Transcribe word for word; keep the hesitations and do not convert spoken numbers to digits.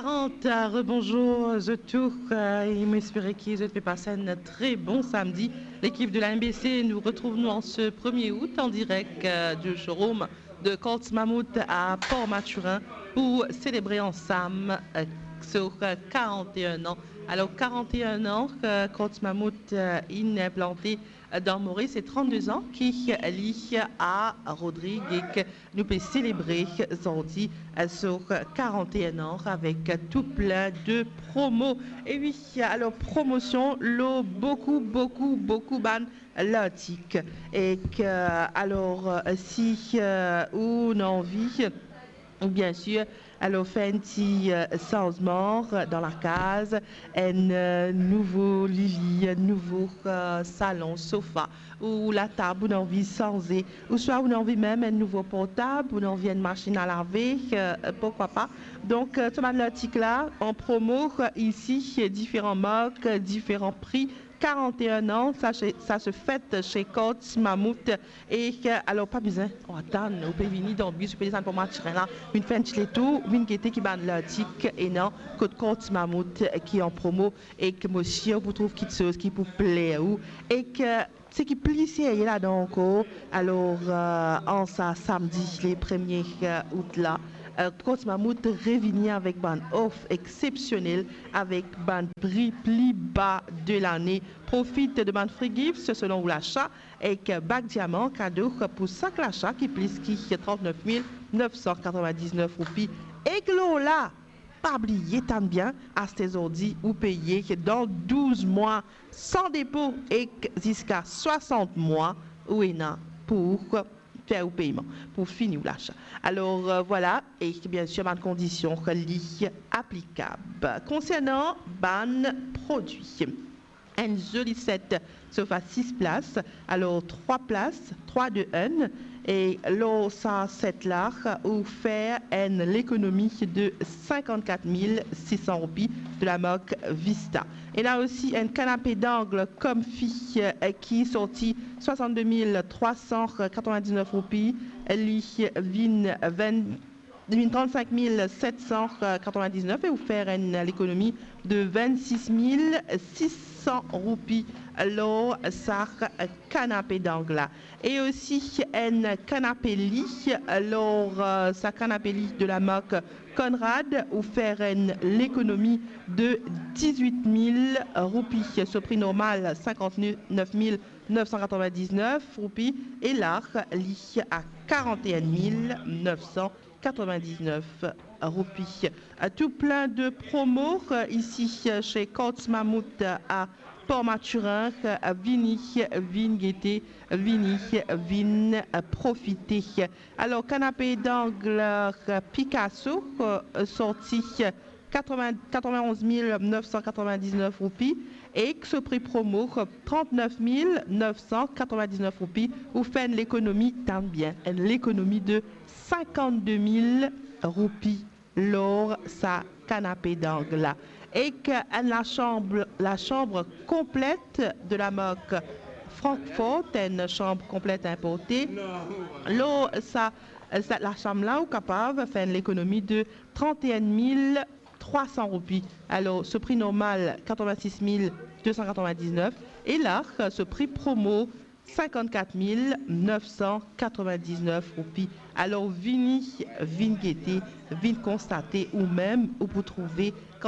Quarante, euh, rebonjour zot tou, euh, e mo espere ki zot pe pas enn tre bon samdi. L'équipe de la M B C, nous retrouvons en ce premier août en direct, euh, du showroom de Courts Mammouth à Port-Mathurin pour célébrer ensemble, euh, sur, euh, quarante et un ans. Alors, quarante et un ans, euh, Courts Mammouth, euh, inn inplanté dan Moris, e trannde-de-an ki li a Rodrig, e nou pe selebre zordi, euh, so quarante et un an avek tou plin de promo. E wi, alor, promosion lor boukou, boukou, boukou bann lartik. E ke, alor, euh, si, euh, ou ena anvi, bien sir, alor, fer enn ti, euh, sanzman, euh, dan lakaz, enn, euh, nouvo lili, enn nouvo, euh, salon, sofa, ou latab, ou ena anvi sanze, ouswa ou ena anvi mem enn nouvo portab, ou ena anvi enn masinn a lave, euh, pourquoi pas. Donk, euh, so bann lartik la, an promo, euh, isi, euh, diferan mark, euh, diferan pri, quarante et un ans, ça se, ça se fête chez Courts Mammouth. E, euh, alor, pa bizin atann, ou pe vini dan bis, ou pe desann Port-Mathurin la, vinn fer enn ti letour, vinn gete ki bann lartik ena kot Courts Mammouth ki an promo, e ke mo sir ou pou trouv kitsoz ki pou pler ou, e ke seki pli serye ladan ankor, alor, euh, an sa samdi le premie, euh, out la, euh, Courts Mammouth revini avek bann of exsepsionel, avek bann pri pli ba de lane. Profit de bann free gifts selon ou lasa, ek bag diaman kado pou sak lasa ki plis ki trant-nef mil nef san katrovin-diz-nef roupi. Ek lor la, pa bliye, tann bien, aste zordi ou peye dan douz mwa, san depo, ek ziska swasant mwa ou ena pou fer ou peyman, pou fini ou lasa. Alor, euh, vwala, e bien sir, bann kondision li aplikab. Konsernan bann prodwi, enn zoli set sofa sis plas, alor trwa plas, trwa de enn, e lor sa set la, ou fer enn lekonomi de sinkant-kat mil sis san roupi de la mark Vista. Ena osi enn kanape dangle Comfy, eh, ki sorti swasant-de mil trwa san katrovin-diz-nef roupi, li vinn vinn, li vinn trant-sink mil set san katrovin-diz-nef e ou fer enn lekonomi de vinn-sis mil sis san roupi lor sa kanape dangle la. E osi enn kanape li, lor, eh, sa kanape li de la mark Conrad, ou fer enn lekonomi de diz-wit mil roupi. So pri normal, sinkant-nef mil nef san katrovin-diz-nef roupi, e la, li a karant-e-enn mil nef san katrovin-diz-nef roupi. Tou plin de promo, eh, isi, eh, chez Courts Mammouth, eh, a Port-Mathurin, eh, vini, vinn gete, vini, vinn profite. Alor, kanape dangle, eh, Picasso, eh, sorti, eh, katrovin, katrovin-onz mil nef san katrovin-diz-nef roupi, ek so pri promo, trant-nef mil nef san katrovin-diz-nef roupi, ou fer enn lekonomi, tann bien, enn lekonomi de sinkant-de mil roupi lor sa kanape dangle la. Ek enn lasanm, lasanm konplet de la mark Frankfort, enn sanm konplet inporte. Lor sa, sa lasanm la, ou kapav fer enn lekonomi de trant-e-enn mil trwa san roupi. Alor, so pri normal, katrovin-sis mil de san katrovin-diz-nef, e la, so pri promo, sinkant-kat mil nef san katrovin-diz-nef roupi. Alor, vini, vinn gete, vinn konstate, ou mem, ou pou trouve